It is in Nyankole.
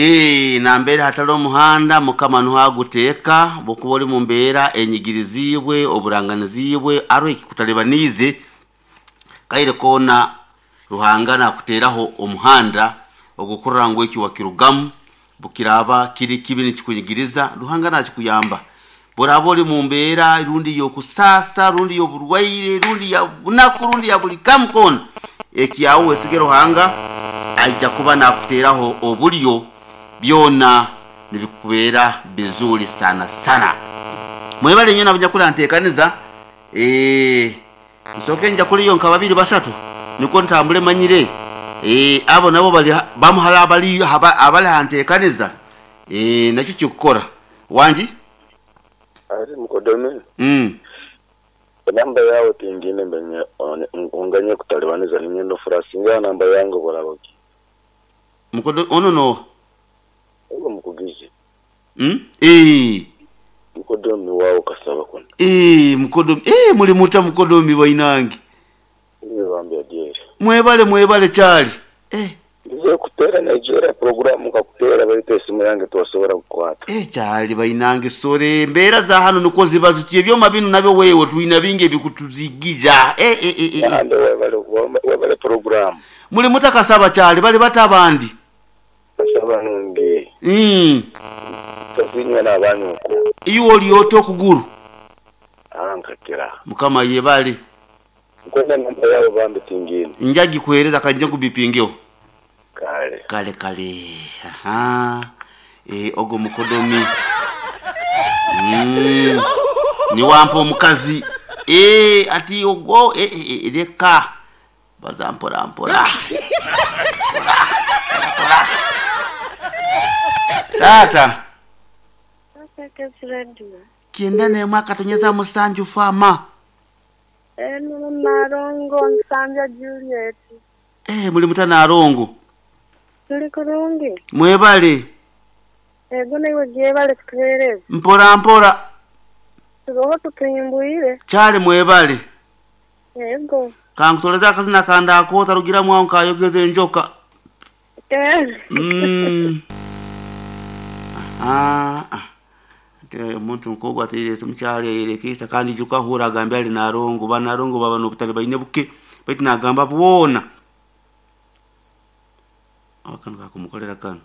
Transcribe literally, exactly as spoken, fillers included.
Ee, nambere hatari omuhanda mukama nuhaguteeka bwokuba ori mu mbeera enyigirizibwe oburanganizibwe aro ekikutalibaniize kaire koona Ruhanga nakuteeraho omuhanda ogukurora ngu eki wakirugamu bukiraaba kiri kibi nikikunyigiriza Ruhanga nakikuyamba. Bworaaba ori mu mbeera rundi y'okusaasa rundi y'oburwaire rundi ya bunaku rundi ya buli kamu koona, ekyawe wesige Ruhanga aija kuba nakuteeraho oburyo byona nibikubeera bizuri sana sana. Mwebale nyo nabunyakula nteekaniza ee, nsooke nja kuliyo nka babiri basatu nikwo ntambule manyire ee, abo nabo bali bamuhala abali haba- abali hanteekaniza ee, nakyo kikukora wangi. Ari mukodome mm. Namba yawe tingine mbenye unganye kutalibaniza ninyendo furasinga namba yange bolaboki Mukodo ono no ugo mukugizi mm? ee. mukodomi wawo kasaba kuno Ee, mukodomi ee, muli muta mukodomi bainange iwe bambi adieri mwebale mwebale kyali eh, ndize kutera Nigeria programu kakutera baita esimu yange tosobora kukwata eh, kyali bainange sore embeera za hano nikwo ziba zityo ebyoma bino nabyo wewe twina bingi ebikutuzigija eh, eh, eh, eh. ande webale webale programu Muli muta kasaba kyali bali bata abandi kasaba nungi mm. tasinywa n'abanyuku Iwe oli ota okuguru ankakira mukama yebale nkwenda namba yawe bambi tingine njagikuhereza kanje nkubipingeho kale kale kale aha e, ogwo mukodomi mm. niwampa omukazi e, ati ogwo e, e, e, leka baza mpora mpora Mpora, mpora. Tata Radio. kyenda nemwe akatonyeza musanju fama Eno Narongo Nsambya Juliet. e, muli muta Narongo Tuli kurungi. mwebale Ego naiwe gyebale kutuheereza. mpora mpora Turoho tutuhimbwire. kyali mwebale Ego. kankutoleza akazina kandakoota rugiramu aho nkayogeza enjoka Eh. Mm. Aha. Ah. Ate omuntu nkogwo ateirese mukyalo yayerekeisa kandi ijuka ahura agambye ali Narongo banarongo baba n'obutale baine buke baitu nagamba bwona akanu kakumukolera kanu.